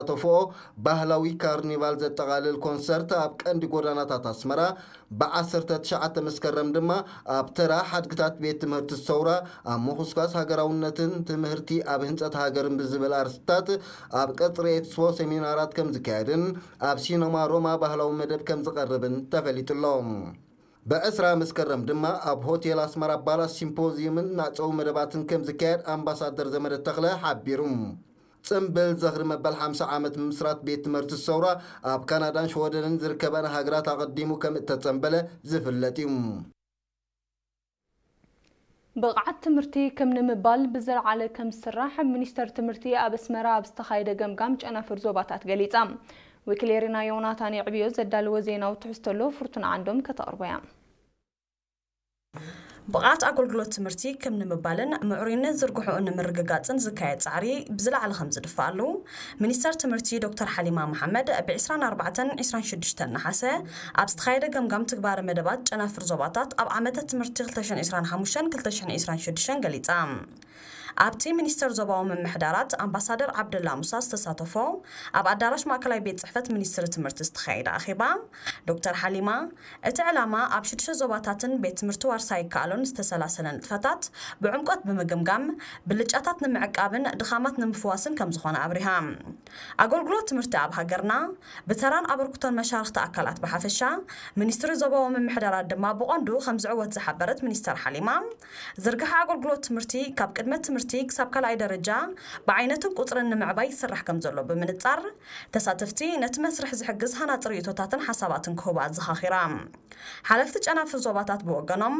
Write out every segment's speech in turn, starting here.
ተሳተፍኦ ባህላዊ ካርኒቫል ዘጠቓልል ኮንሰርት ኣብ ቀንዲ ጎዳናታት ኣስመራ፣ ብ19 መስከረም ድማ ኣብ ተራ ሓድግታት ቤት ትምህርቲ ሰውራ፣ ኣብ ምኹስኳስ ሃገራውነትን ትምህርቲ ኣብ ህንጸት ሃገርን ብዝብል ኣርእስታት ኣብ ቀጽሪ ኤክስፖ ሰሚናራት ከም ዝካየድን ኣብ ሲነማ ሮማ ባህላዊ መደብ ከም ዝቐርብን ተፈሊጡ ኣሎ። ብ20 መስከረም ድማ ኣብ ሆቴል ኣስመራ ባላስ ሲምፖዚየምን መዕጸዊ መደባትን ከም ዝካየድ ኣምባሳደር ዘመደ ተኽለ ሓቢሩ። ጽምብል ዝኽሪ መበል 50 ዓመት ምስራት ቤት ትምህርቲ ሰውራ ኣብ ካናዳን ሽወደንን ዝርከበን ሃገራት ኣቐዲሙ ከም እተጸምበለ ዝፍለጥ እዩ። ብቕዓት ትምህርቲ ከም ንምባል ብዝለዓለ ከም ዝስራሕ ሚኒስተር ትምህርቲ ኣብ ኣስመራ ኣብ ዝተኻየደ ገምጋም ጨናፍር ዞባታት ገሊጻ። ወኪል ኤሪና ዮናታን የዕብዮ ዘዳለዎ ዜናዊ ትሕዝቶ ኣሎ፣ ፍርቱና ዓንዶም ከተቕርቦ እያ። ብቕዓት ኣገልግሎት ትምህርቲ ከም ንምባልን ምዕሩይነት ዝርግሕኡ ንምርግጋጽን ዝካየድ ጻዕሪ ብዝለዓለ ከም ዝድፋኣሉ ሚኒስተር ትምህርቲ ዶክተር ሓሊማ መሓመድ ብ24ን 26 ነሓሰ ኣብ ዝተኻየደ ገምጋም ትግባረ መደባት ጨናፍር ዞባታት ኣብ ዓመተ ትምህርቲ 2026-2027 ገሊጻ። ኣብቲ ሚኒስተር ዞባዊ ምምሕዳራት ኣምባሳደር ዓብደላ ሙሳ ዝተሳተፎ ኣብ ኣዳራሽ ማእከላይ ቤት ጽሕፈት ሚኒስትሪ ትምህርቲ ዝተኻየደ ኣኼባ፣ ዶክተር ሓሊማ፣ እቲ ዕላማ ኣብ ሽዱሽተ ዞባታትን ቤት ትምህርቲ ዋርሳይ ይከኣሎን ዝተሰላሰለ ንጥፈታት ብዕምቆት ብምግምጋም፣ ብልጫታት ንምዕቃብን ድኻማት ንምፍዋስን ከም ዝኾነ ኣብሪሃ። ኣገልግሎት ትምህርቲ ኣብ ሃገርና ብተራን ኣበርክቶን መሻርኽቲ ኣካላት ብሓፈሻ፣ ሚኒስትሪ ዞባዊ ምምሕዳራት ድማ ብቐንዱ ከም ዝዕወት ዝሓበረት ሚኒስተር ሓሊማ፣ ዝርግሐ ኣገልግሎት ትምህርቲ ካብ ቅድመ ትምህርቲ ክሳብ ካልኣይ ደረጃ ብዓይነትን ቁጽርን ንምዕባይ ይስራሕ ከም ዘሎ ብምንጻር፣ ተሳተፍቲ ነቲ መስርሕ ዝሕግዝ ሃናጺ ርእይቶታትን ሓሳባትን ክህቡ ኣዘኻኺራ። ሓለፍቲ ጨናፍር ዞባታት ብወገኖም፣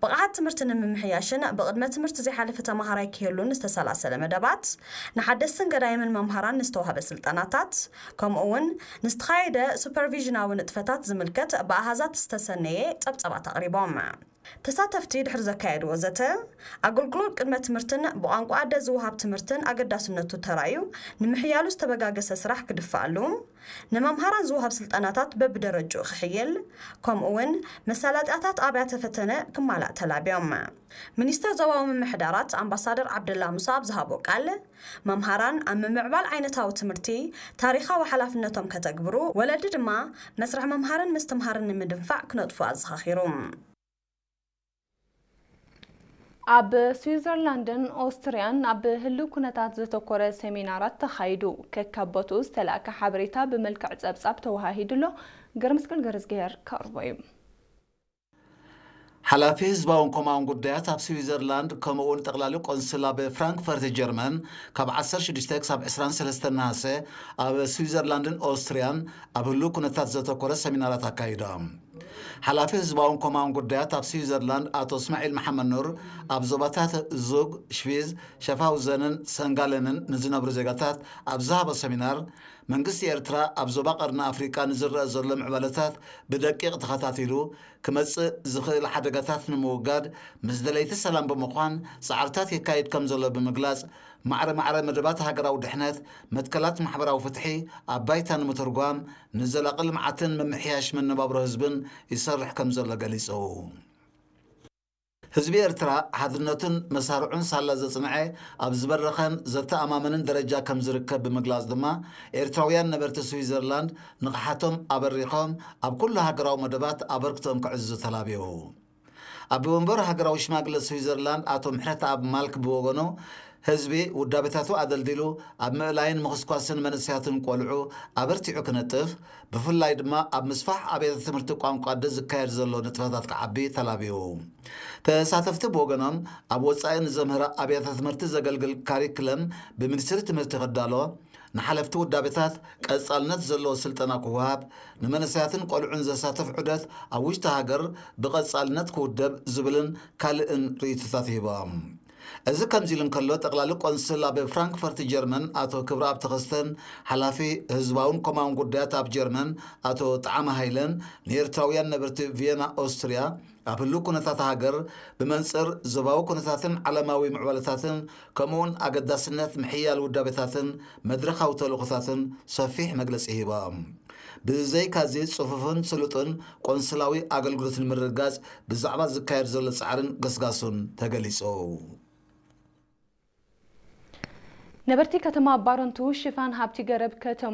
ብቕዓት ትምህርቲ ንምምሕያሽን ብቕድመ ትምህርቲ ዘይሓለፈ ተማሃራይ ክህሉን ዝተሰላሰለ መደባት፣ ንሓደስትን ገዳይምን መምሃራን ንዝተዋህበ ስልጠናታት፣ ከምኡ እውን ንዝተኻየደ ሱፐርቪዥናዊ ንጥፈታት ዝምልከት ብኣሃዛት ዝተሰነየ ጸብጻባት ኣቕሪቦም። ተሳተፍቲ ድሕሪ ዘካየድዎ ዘተ፣ ኣገልግሎት ቅድመ ትምህርትን ብቋንቋ ኣደ ዝወሃብ ትምህርትን ኣገዳስነቱ ተራእዩ ንምሕያሉ ዝተበጋገሰ ስራሕ ክድፋኣሉ፣ ንመምሃራን ዝወሃብ ስልጠናታት በብደረጅኡ ክሕይል፣ ከምኡ እውን መሳለጥያታት ኣብያተ ፈተነ ክማላእ ተላብዮም። ሚኒስተር ዞባዊ ምምሕዳራት ኣምባሳደር ዓብደላ ሙሳ ኣብ ዝሃቦ ቃል፣ መምሃራን ኣብ ምምዕባል ዓይነታዊ ትምህርቲ ታሪኻዊ ሓላፍነቶም ከተግብሩ፣ ወለዲ ድማ መስርሕ ምምሃርን ምስትምሃርን ንምድንፋዕ ክነጥፉ ኣዘኻኺሩ። ኣብ ስዊዘርላንድን ኦስትርያን ኣብ ህልው ኩነታት ዘተኮረ ሰሚናራት ተኻይዱ። ከካብ ቦትኡ ዝተላእከ ሓበሬታ ብመልክዕ ጸብጻብ ተወሃሂዱ ኣሎ። ገርምስቅል ገርዝግሄር ከቕርቦ እዩ። ሓላፊ ህዝባውን ኮማውን ጉዳያት ኣብ ስዊዘርላንድ፣ ከምኡ እውን ጠቕላሊ ቆንስል ኣብ ፍራንክፈርት ጀርመን፣ ካብ 16 ክሳብ 23 ነሃሰ ኣብ ስዊዘርላንድን ኦስትርያን ኣብ ህሉው ኩነታት ዘተኮረ ሰሚናራት ኣካይዶም። ሓላፊ ህዝባውን ኮማውን ጉዳያት ኣብ ስዊዘርላንድ ኣቶ እስማዒል መሓመድ ኑር፣ ኣብ ዞባታት ዙግ፣ ሽቪዝ፣ ሸፋውዘንን ሰንጋለንን ንዝነብሩ ዜጋታት ኣብ ዝሃቦ ሰሚናር፣ መንግስቲ ኤርትራ ኣብ ዞባ ቀርኒ ኣፍሪቃ ንዝረአ ዘሎ ምዕባለታት ብደቂቕ ተኸታቲሉ፣ ክመጽእ ዝኽእል ሓደጋታት ንምውጋድ ምስ ደለይቲ ሰላም ብምዃን ጻዕርታት የካይድ ከም ዘሎ ብምግላጽ፣ ማዕረ ማዕረ መደባት ሃገራዊ ድሕነት፣ መትከላት ማሕበራዊ ፍትሒ ኣብ ባይታ ንምትርጓም፣ ንዘላቒ ልምዓትን ምምሕያሽ መነባብሮ ህዝብን ይሰርሕ ከም ዘሎ ገሊጹ። ህዝቢ ኤርትራ ሓድነቱን መሳርዑን ሳላ ዘጽንዐ፣ ኣብ ዝበረኸን ዘተኣማምንን ደረጃ ከም ዝርከብ ብምግላጽ ድማ፣ ኤርትራውያን ነበርቲ ስዊዘርላንድ ንቕሓቶም ኣበሪኾም ኣብ ኩሉ ሃገራዊ መደባት ኣበርክቶኦም ከዕዝዙ ተላብዩ። ኣቦ መንበር ሃገራዊ ሽማግለ ስዊዘርላንድ ኣቶ ምሕረተኣብ ማልክ ብወገኑ፣ ህዝቢ ውዳቤታቱ ኣደልዲሉ ኣብ ምእላይን ምኽስኳስን መንእሰያትን ቆልዑ ኣበርቲዑ ክነጥፍ፣ ብፍላይ ድማ ኣብ ምስፋሕ ኣብያተ ትምህርቲ ቋንቋ ኣደ ዝካየድ ዘሎ ንጥፈታት ክዓቢ ተላብዩ። ተሳተፍቲ ብወገኖም፣ ኣብ ወጻኢ ንዘምህራ ኣብያተ ትምህርቲ ዘገልግል ካሪክለም ብሚኒስትሪ ትምህርቲ ክዳሎ፣ ንሓለፍቲ ውዳቤታት ቀጻልነት ዘለዎ ስልጠና ክወሃብ፣ ንመንእሰያትን ቆልዑን ዘሳተፍ ዑደት ኣብ ውሽጢ ሃገር ብቐጻልነት ክውደብ ዝብልን ካልእን ርእይቶታት ሂቦም። እዚ ከምዚ ኢሉ እንከሎ፣ ጠቕላሊ ቆንስል ኣብ ፍራንክፈርት ጀርመን ኣቶ ክብረኣብ ተኸስተን ሓላፊ ህዝባውን ኮማውን ጉዳያት ኣብ ጀርመን ኣቶ ጣዕመ ሃይለን ንኤርትራውያን ነበርቲ ቪየና ኦስትርያ ኣብ ህሉው ኩነታት ሃገር ብመንጽር ዞባዊ ኩነታትን ዓለማዊ ምዕባለታትን ከምኡውን ኣገዳስነት ምሕያል ውዳቤታትን መድረኻዊ ተልእኾታትን ሰፊሕ መግለጺ ሂቦም። ብዘይካዚ ጽፉፍን ስሉጥን ቆንስላዊ ኣገልግሎት ንምርግጋጽ ብዛዕባ ዝካየድ ዘሎ ጻዕርን ገስጋሱን ተገሊጹ። ነበርቲ ከተማ ባረንቱ ሽፋን ሃብቲ ገረብ ከተማ